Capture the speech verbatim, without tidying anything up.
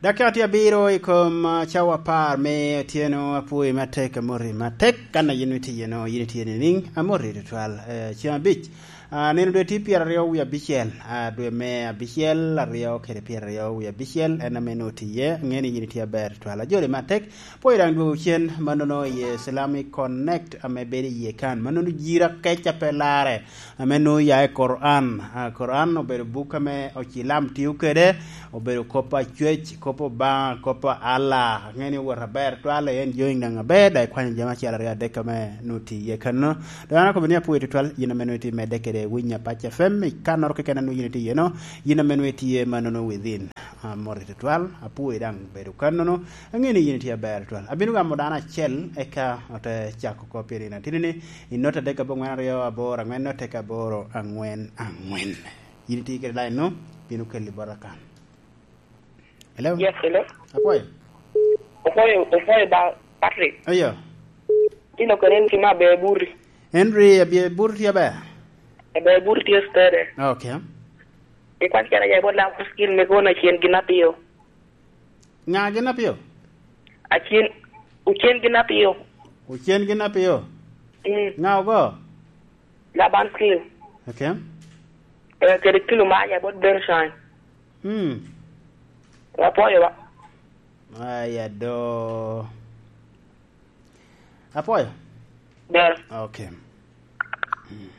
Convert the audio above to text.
Dakika tye abiro i kom, ah, cawa apar me otyeno. Apwoyi matek, amoti matek. Kan a yin itye iyeno, yin itye nining? Amoti tutwal. Eh, ceng abic. Ah, nino dwe tye pyeraryo wie abicel, ah, dwe me abicel, aryo kede pyeraryo wie abicel, en ame nwoŋo tye iye. Aŋeo ni yin itye aber tutwal. Ajoli matek, pwoyo daŋ dwogo cen mannono i Islamic Connect ame bedo iye kan. Mannono jira kec a pe larre, ame nwoŋo ya i Koran. Ah, Koran obedo buk ame ocilam tio kede, obedo kop a cwec, kop Obaŋa, kop a Allah. Aŋeo ni owot aber twal, en join daŋ aber, daŋ ikwanyo jami acel aryo adek ame nwoŋo tye iye kanno. Dok an akobo ni apwoyo tutwal, yin ame nwoŋo itye medde kede winyo Apac F M, i kannoro keken a nwoŋo yin itye iyeno, yin ame nwoŋo itye mannono within. Ah, amoti tutwal, apwoyi daŋ bedo kannono, aŋeo ni yin itye aber tutwal. Abino gamo dano acel, eka ote cako kop i nino atini ni, i note adek aboŋwen aryo aboro aŋwen note ka aboro aŋwen aŋwen. Yin itye kede line-nu, bino keli bota kan. Hello? Yes, hello. Apwoyo. Opwoyo, opwoyo ba Patrick. Ayo. Tino kene ni kima be buri. Henry, abye bur tye aber? Be buri tye stede. Okay. Ikwan kena ya bot lam skill me kono acien gin apio. Ŋa gin apio? Acien, ocien gin apio. Ocien gin apio? Mm. Ŋa ogo? Laban skill. Okay. Eh, kede kilo ma ya bot Bershine. Hmm. Apwoyo ba. Aya do. Apwoyo? Ber. Okay. Hmm.